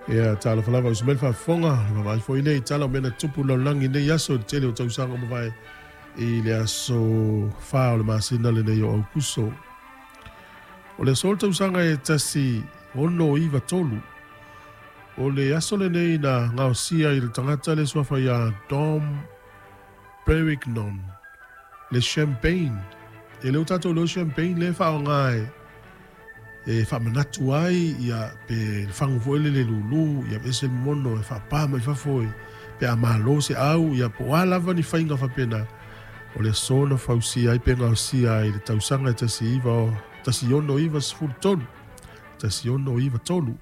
Ia talofa lava uso mai le faafofoga, le vaavaai foi lea i tala o mea na tutupu i le lalolagi i lenei aso i le tele o tausaga ua mavae i le aso 4 o le masina lenei o Aukuso. O le aso o le tausaga e 1693, o le aso lenei na gaosia i le tagata le suafa ia Dom Perignon le champagne. E le o tatou leo champagne le faaaoga e e faamanatu ai ia pe le fagu foi lele lulu ia ese le mono e faapā mai fafo e pe a malo se au ia po o a lava ni faiga faapena o le aso na fausia ai pe gaosia ai le tausaga e 19, 1693 1693.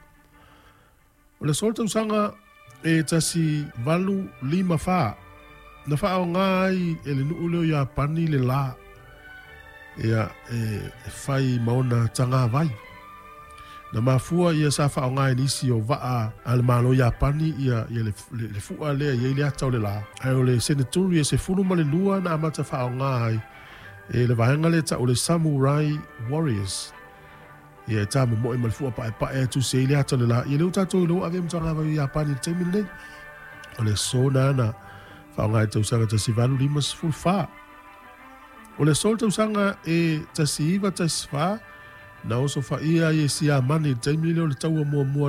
O le aso o le tausaga e 1854 na faaaoga ai e le nuu lea o Iapani le la ia, e fai ma ona tagavai. Na mafua ia sa faaaoga e nisi o vaa a le Malo Iapani ia, ia le, le, le fua lea i ai le ata o le la. Ae o le seneturi e 12 na amata faaaoga ai e le vaega lea tau le Samurai Warriors. Ia e tā momoe ma le fua paepae e tusi ai le ata o le la. Ia lea ua tatou iloa ave ma tagavai o Iapani i le taimi lenei. O le aso na na faaaoga i tausaga 1854. O le aso o le tausaga e 1914 na osofaia ai e Siamani i le taimi lea o le taua muamua.